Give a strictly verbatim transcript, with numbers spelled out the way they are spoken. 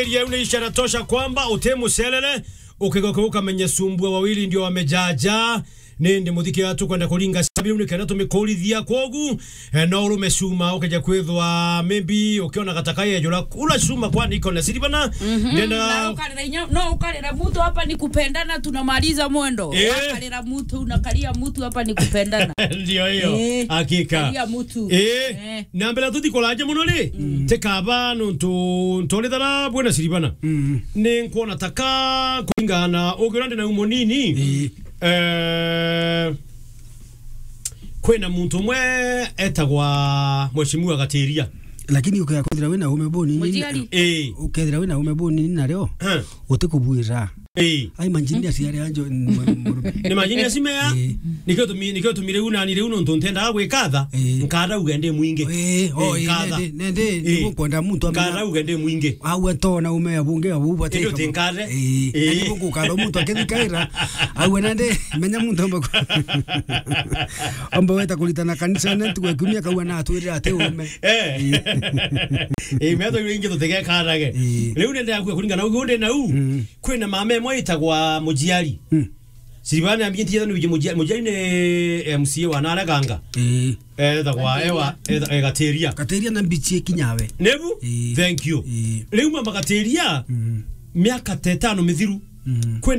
Area ni ishara tosha kwamba uti mucelele, ukigoka ukamenya sumbua wawili ndio wamejaja. Nindi muthiki watu kwenda kuringa sabi ni kenda tumikuurithia kwogu. Eh, no urume cuma ukeja kwithwa maybe ukiona gataka yejura ula cuma kwa niko na siribana. Mhm. Ndenda Na ukarira inya, no ukarira mtu hapa ni kupendana, tunamaliza mwendo. Eh. Ukarira mtu, unakalia mtu hapa ni kupendana. Ndio hiyo. Eh. Hakika. Kalia mtu. Eh. Eh. Na mbere tutikuraje muno ri, tikaba nuntu ntorithana bwina siribana. Mm. Ni nkuona taka kuringana ugira ndi na umo nini. Eh. Eh, kwina muntu umwe etagwa Mheshimiwa Gatiria. Lakini ukethira wina ume boni nini? Mujiari. Eh. Ukethira wina ume boni nini nario? Eh. Utikubwira. Eh. Ai, imagine aciari anjo, ni imagine acimea. Eh. Nikio tumi-, nikio tumire una ni riu nontu ntendaga gwikatha. Eh. Nkara uge ndi mwingi. Eh, oh, eh, eh, nkatha. Nende, nende, eh, nigukwenda muntu amenya. Nkara uge ndi mwingi. Au atona ume abunge abu bate. Ndio tinkare. Eh. Eh. Nigukwenda muntu akithikaira. Au nende, menya muntu amba ku-, amba weta kuritana kanisa na ntuku ya kiumia kauga na atwirira ati ume. Eh. Eh. Eh, metho ingi tutegekarage. Eh. Riu nende yakua kuringana ugu ndi nau. Mm. Kwina mama emwe itagwa Mujiari. Mm. Siribane ambinti yetha ni Mujiari, Mujiari ni M C A wa Nareganga. Eh. Eh, etagwa ewa, etha-, eh, Gatiria. Gatiria na mbichi kinyawe. Nebu? Eh. Thank you. Eh. Riu mama Gatiria, mm, miaka tetano mithiru. Mm. Kwina